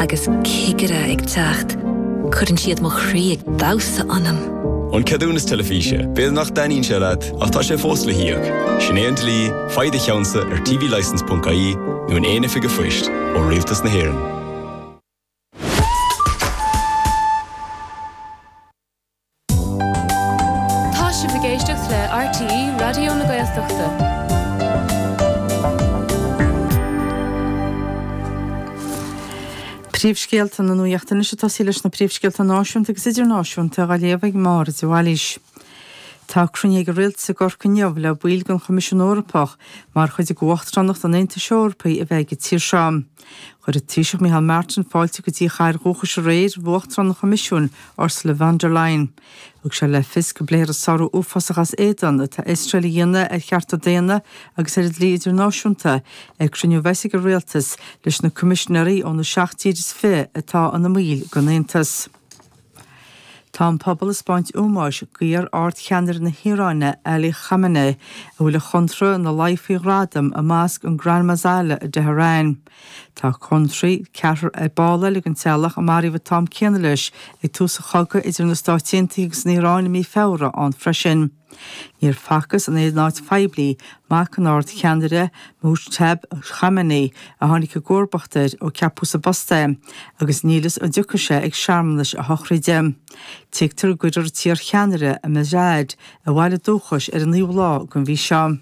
agus cigire ag teacht, cuireann siad mo chroí ag damhsa ionam. An ceadúnas teilifíse, b'fhéidir nach dtaitníonn sé leat, ach tá sé fós le híoc. Sin é an dlí, faigh do cheannsa ar tvlicence.ie nó in aon oifig an phoist ó Rialtas na hÉireann. Tá sibh ag éisteacht le RTÉ Raidió na Gaeltachta. Príomhscéalta na Nuachta anois ag tosaí leis na príomhscéalta náisiúnta agus idirnáisiúnta á léamh ag Máire de Bhailís. Tá cruinniú ag an Rialtas i gCorcaigh inniu le baill den Choimisiún Eorpach mar chuid de Uachtaránacht an Aontais Eorpaigh a bheidh ag an tír seo. Chuir an Taoiseach Micheál Martin fáilte go dtí a chathair dhúchais aréir roimh Uachtarán an Choimisiúin, Ursula von der Leyen. Thug sé le fios go bpléifear an sárú uafásach as éadan atá Iosrael a dhéanamh ar chearta daonna agus ar an dlí idirnáisiúnta ag cruinniú a bheas ag an Rialtas leis na coimisinéirí ó na seacht dtír is fiche atá ina mbaill den Aontas. Tá an pobal ag 'spáint ómóis d'iar-ardcheannaire na hIaráine, Ali Khamenei, a bhfuil a chonradh ina luí faoi ghradam i Mosc an Grand Mausoleum i dTehran. Tá conarthaí ceathrar ball eile den teaghlach a maraíodh an t-am céanna leis ag tús an chogaidh idir na Stáit Aontaithe agus an Iaráin i mí Feabhra ann freisin. Níor facthas in aon áit phoiblí mac an ardcheannaire, Mojtaba Khamenei, a tháinig i gcomharbacht air ó ceapadh sa bpost é, agus níl fhios an dtiocfaidh sé ag searmanais a shochraide. Tuigtear go gcuirfear an t-iarcheannaire i Mashhad, a bhaile dúchais, ar an naoú lá den mhí seo.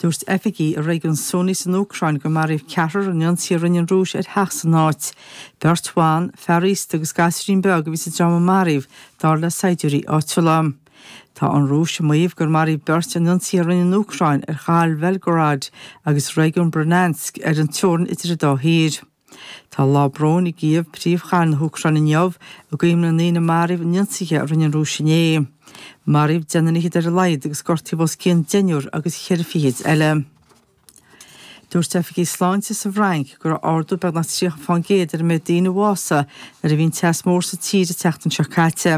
Dúirt oifigigh i réigiún Sumy san Úcráin gur maraíodh ceathrar in ionsaí a rinne an Rúis ar theach san áit. Beirt bhan, fear aosta agus gasúirín beag a bhí sa dream a maraíodh, dar le saighdiúirí áitiúla. Tá an Rúis ag maíomh gur maraíodh beirt in ionsaí a rinne an Úcráin ar chathair Bhelgorod agus réigiún Bryansk ar an teorainn idir an dá thír. Tá lá bróin i gCív, príomhchathair na hÚcráine inniu, i gcuimhne na ndaoine a maraíodh in ionsaithe a rinne an Rúis inné. Maraíodh deichniúr fhichead ar a laghad agus gortaíodh os cionn deichniúr agus cheithre fichid eile. Dúirt oifigigh sláinte sa bhFrainc go raibh ardú beagnach 30 fán gcéad ar an méid daoine a bhásaigh nuair a bhí an teas mór sa tír an tseachtain seo caite.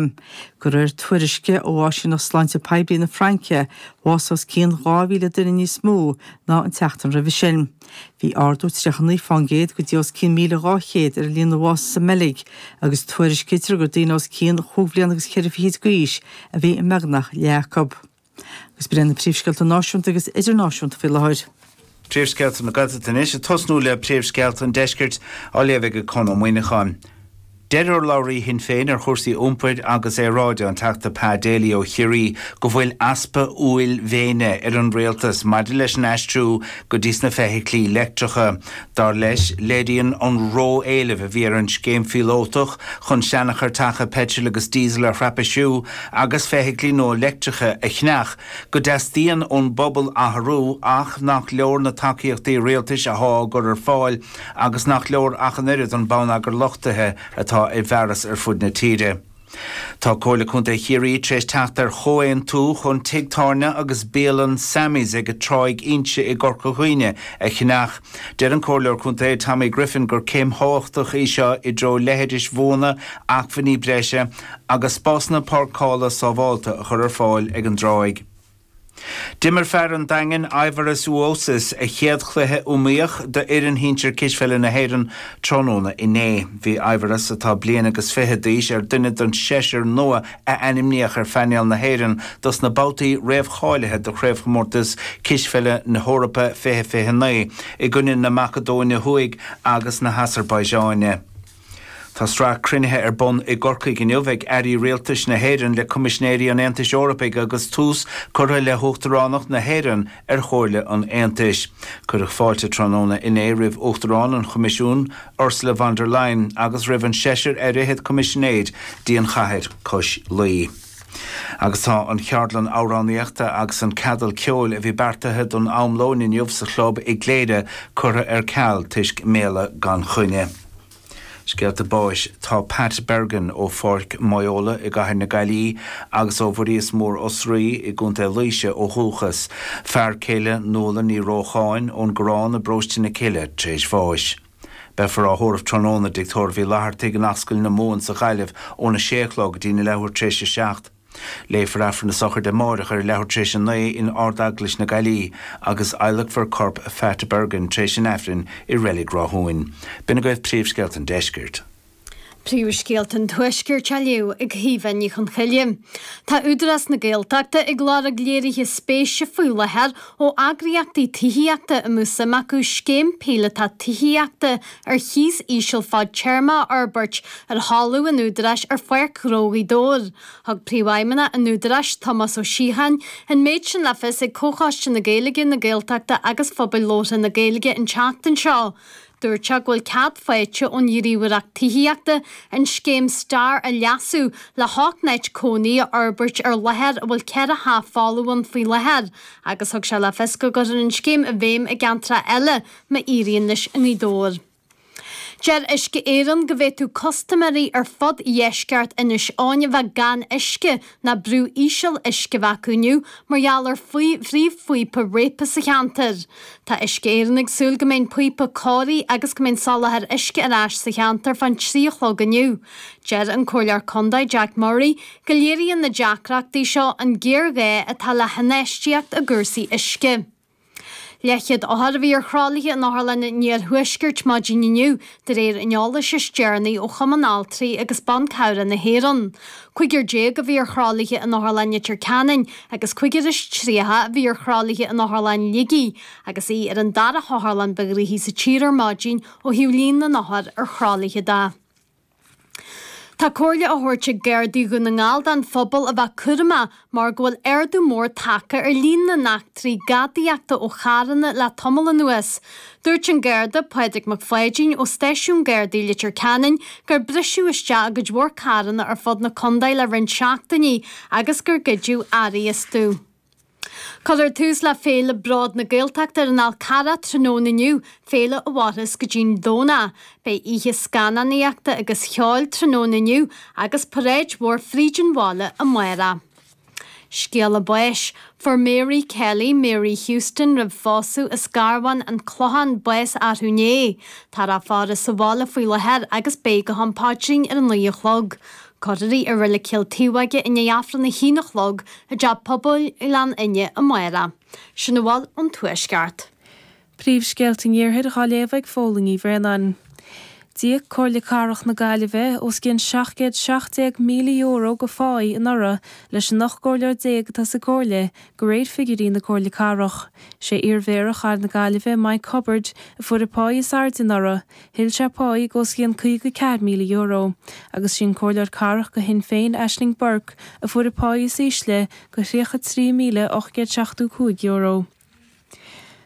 De réir tuairisce ó Áisíneacht Sláinte Poiblí na Fraince, bhásaigh os cionn 2,000 duine níos mó ná an tseachtain roimhe sin. Bhí ardú 39 fán gcéad go dtí os cionn 1,200 ar an líon a bhásaigh sa mBeilg agus tuairiscítear gur daoine os cionn chúig bhliana agus cheithre fichid d'aois a bhí i mbeagnach leath acu. Agus b'in iad na príomhscéalta náisiúnta agus idirnáisiúnta faoi láthair. Príomhscéalta na Gaeltachta anois, ag tosnú le príomhscéalta an deiscirt, á léamh ag Conn Ó Muíneacháin. Deir urlabhraí Shinn Féin ar chúrsaí iompair agus aeráide, an Teachta Pa Daly ó Chiarraí, go bhfuil easpa uaillmhéine ar an rialtas maidir leis an aistriú go dtí sna feithiclí leictreacha. Dar leis, léiríonn an ró-éileamh a bhí ar an scéim phíolótach chun seanchairteacha peitril agus díosail a thraipisíú agus feithiclí nua leictreacha a cheannach go dteastaíonn ón bpobal athrú ach nach leor na tacaíochtaí rialtais athá á gcur ar fáil agus nach leor ach an oiread an bonneagar luchtaithe atá ar fearas ar fud na tíre. Tá Comhairle Contae Chiarraí tar éis teacht ar chomhaontú chun tigh tábhairne agus bialann Sammy's ag Tráigh Inse i gCorca Dhuibhne a cheannach. Deir an Comhairleoir Contae Tommy Griffin gur céim thábhachtach í seo i dtreo leithris bhuana, acmhainní breise agus spásanna páirceála sábháilte a chur ar fáil ag an dtráigh. D'imir fear an Daingin, Aivaras Uosis, a chéad chluiche iomaíoch d'fhoireann shinsir cispheile na hÉireann tráthnóna inné. Bhí Aivaras, atá bliain agus fiche d'aois, ar dhuine den seisear nua a ainmníodh ar phainéal na hÉireann dos na babhtaí réamhcháilithe do Chraobhchomórtas Cispheile na hEorpa 2029 i gcoinne na Macadóine Thuaidh agus na hAsarbaiseáine. Tá sraith cruinnithe ar bun i gCorcaigh inniu ag airí rialtais na hÉireann le Coimisinéirí an Aontais Eorpaigh agus tús curtha le hUachtaránacht na hÉireann ar Chomhairle an Aontais. Cuireadh fáilte tráthnóna inné roimh Uachtarán an Choimisiúin, Ursula von der Leyen, agus roimh an seisear ar fhichead Coimisinéir dtí an chathair cois Laoi. Agus tá an cheardlann amhránaíochta agus an ceadal ceoil a bhí beartaithe don am lóin inniu sa chlub i gCléire curtha ar ceal toisc méala gan choinne. Scéalta báis Tá Pat Bergin ó Pháirc Moyola i gcathair na Gaillimhe agus ó Bhuiríos Mór Osraí i gContae Laoise ó dhúchas, fear céile Nuala Ní Rócháin ón gCorrán i bparóiste na Cille tar éis bháis. Beifear á thórramh tráthnóna i dTigh Tórraimh Uí Fhlathartaigh in Ascaill na Mumhan sa Ghaillimh óna sé a chlog go dtí na leathuair tar éis a 7. Léifear Aifreann na sochraide amáireach ar a leathuair tar éis a 9 in Ard-Eaglais na Gaillimhe agus adhlacfar corp Phat Bergin tar éis an Aifrinn i Reilig Ráthúin. B'in agaibh príomhscéalta an deiscirt. Príomhscéalta an Tuaiscirt á léamh ag Caoimhe Ní Chonchoille. Tá Údarás na Gaeltachta ag lorg léirithe spéise faoi láthair ó eagraíochtaí tithíochta a mbeadh suim acu scéim píolótach tithíochta ar chíos íseal fadtéarma a fhorbairt ar thalamh an Údaráis ar Pháirc Ghnó Ghaoth Dobhair. Thug Príomhfheidhmeannach an Údaráis, Tomás Ó Síocháin, an méid sin le fios ag Comhchoiste na Gaeilge, na Gaeltachta agus Phobail Labhartha na Gaeilge an tseachtain seo. Dúirt sé go bhfuil cead faighte ón Ghníomhaireacht Tithíochta an scéim Star a leasú le hocht n-áit cónaí a fhorbairt ar láthair a bhfuil ceithre theach folamh ann faoi láthair agus thug sé le fios go gcuirfear an scéim i bhfeidhm i gceantracha eile má éiríonn leis i nGaoth Dobhair. Deir Uisce Éireann go bhféadfadh custaiméirí ar fud dheisceart Inis Eoghain a bheith gan uisce ná brú íseal uisce a bheith acu inniu mar gheall ar phríomhphíopa réabtha sa cheantar. Tá Uisce Éireann ag súil go mbeidh an píopa cóirithe agus go mbeidh an soláthar uisce ar ais sa cheantar fán 3 a chlog inniu. Deir an Comhairleoir Contae Jack Murray go léiríonn na deacrachtaí seo an géarghá atá le hinfheistíocht i gcúrsaí uisce. Leathchéad othar a bhí ar thralaithe in Otharlann an Iarthuaiscirt maidin inniu, de réir an eolais is deireanaí ó Chumann Altraí agus Ban Cabhrach na hÉireann. 15 a bhí ar thralaithe in Otharlann Leitir Ceanainn agus 35 a bhí ar thralaithe in Otharlann Shligigh, agus í ar an dara hotharlann ba ghnoithí sa tír ar maidin ó thaobh líon na n-othar ar thralaithe de. Tá comhairle á thabhairt ag Gardaí Dhún na nGall don phobal a bheith cúramach mar go bhfuil ardú mór tagtha ar líon na n-eachtraí gadaíochta ó charranna le tamall anuas. Dúirt an Garda Pádraig Mac Pháidín ó Stáisiún Gardaí Leitir Ceanainn gur briseadh isteach i gcuid mhór carranna ar fud na contae le roinnt seachtainí agus gur goideadh earraí astu. Cuirfear tús le Féile Bród na Gaeltachta ar an Fhál Carrach tráthnóna inniu, féile a mhairfeas go dtí'n Domhnach. Beidh oíche scannánaíochta agus cheoil tráthnóna inniu agus paráid mhór fríd an bhaile amárach. Scéala báis. Fuair Mary Kelly, Mary Houston roimh phósadh as Garbhán, An Clochán, bás arú inné. Táthar á faire sa bhaile faoi láthair agus beidh go ham paidrín ar a 9 a chlog. Cuirfear í i Reilig Chill Taobhóige i ndiaidh Aifreann a haon a chlog i dTeach Pobail Ghleann Fhinne amárach. Sin a bhfuil ón Tuaisceart. Príomhscéalta an Iarthair dhá léamh ag Fódhla Ní Bhraonáin. D'íoc Comhairle Cathrach na Gaillimhe os cionn €717,000 de pháí anuraidh leis an 18 gcomhairleoir atá sa gComhairle, de réir figiúirí na Comhairle Cathrach. Sé iarMhéara Chathair na Gaillimhe, Mike Hubbard, a fuair an pháí is airde anuraidh, Thuill sé páí de os cionn €54,000, agus sí an Comhairleoir Cathrach do Shinn Féin, Aisling Burke, a fuair an páí is ísle de €33,875.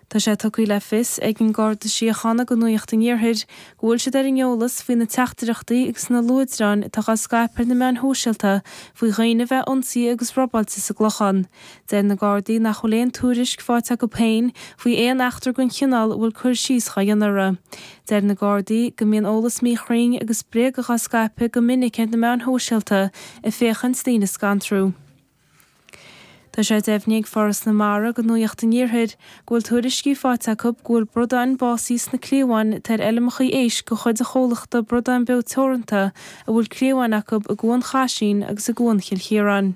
Tá sé tugtha le fios ag an Garda Síochána do Nuacht an Iarthair go bhfuil siad ar an eolas faoi na teachtaireachtaí agus na luaidreáin atá á scaipeadh ar na meáin shóisialta faoi dhaoine a bheith ionsaithe agus robáilte sa gClochán. Deir na Gardaí nach bhfuil aon tuairisc faighte acu féin faoi aon eachtra den chineál a bhfuil cur síos dhá dhéanamh uirthi. Deir na Gardaí go mbíonn eolas míchruinn agus bréagach á scaipeadh go minic ar na meáin shóisialta ag féachaint daoine a scantrú. Tá sé deimhnithe ag Foras na Mara do Nuacht an Iarthair go bhfuil tuairiscí faighte acu go bhfuil bradáin básaithe sna cliabháin atá ar fheilmeacha éisc de chuid an chomhlachta Bradán Beo Teoranta a bhfuil cliabháin acu i gCuan Chaisín agus i gCuan Chill Chiaráin.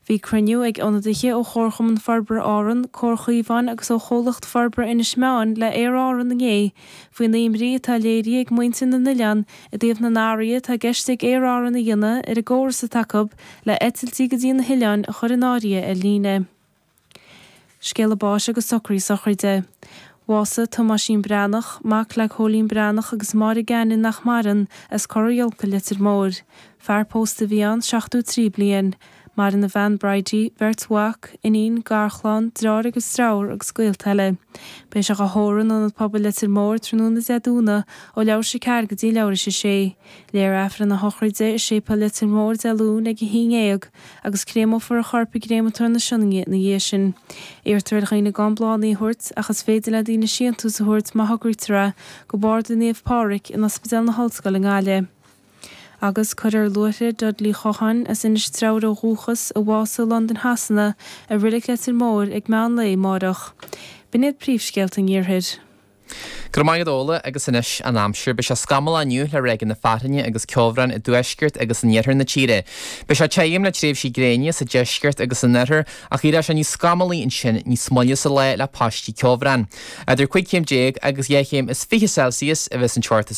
Bhí cruinniú ag ionadaithe ó Chomharchumann Forbartha Árann, Comhar Chaomháin agus ó Chomhlacht Forbartha Inis Meáin le Aer Árann inné faoin imní atá léirithe ag muintir na n-oileán i dtaobh na n-athruithe atá i gceist ag Aer Árann a dhéanamh ar an gcóras atá acu le eitiltí go dtí na hoileáin a chur in áirithe ar líne. Scéala báis agus socruithe sochraide. Bhásaigh Tomáisín Breathnach, mac le Cóilín Breathnach agus Máire Gannon nach maireann, as Cora Iolca, Leitir Móir. Fear pósta a bhí ann, 73 bliain. Maireann a bhean Bridie, beirt mhac, iníon, garchlann, deartháir agus deirfiúr agus gaolta eile. Beidh sé dhá thórramh in Ionad Pobail Leitir Móir tráthnóna Dé Domhnaigh ó leathuair tar éis a 4 go dtí leathuair tar éis a 6. Léifear Aifreann a shochraide i Séipéal Leitir Móir Dé Luain ag 11 agus créamófar a chorp i gCréamatóir na Sionainne ina dhiaidh sin. Iarrtar ar dhaoine gan bláthanna a thabhairt, ach is féidir le daoine síntiús a thabhairt má thograítear é, go Barda Naomh Pádraig in Ospidéal na hOllscoile i nGaillimh. Agus cuirfear Luaithre Dudley Chocháin, as Inis Treabhair ó dhúchas, a bhásaigh i Londain Shasana, i Reilig Leitir Móir ag meán lae amáireach. B'in iad príomhscéalta an Iarthair. Go raibh maith agat Ola agus anois an aimsir. Beidh sé scamallach inniu le ráigeanna fearthainne agus ceobhráin i dtuaisceart agus in iarthar na tíre. Beidh sé tirim le tréimhsí gréine sa deisceart agus san oirthear ach éireoidh sé níos scamallaí ansin níos moille sa lá le paistí ceobhráin. Idir 15 chéim agus 2 chéim is 20 Celsius a bheas an teocht is.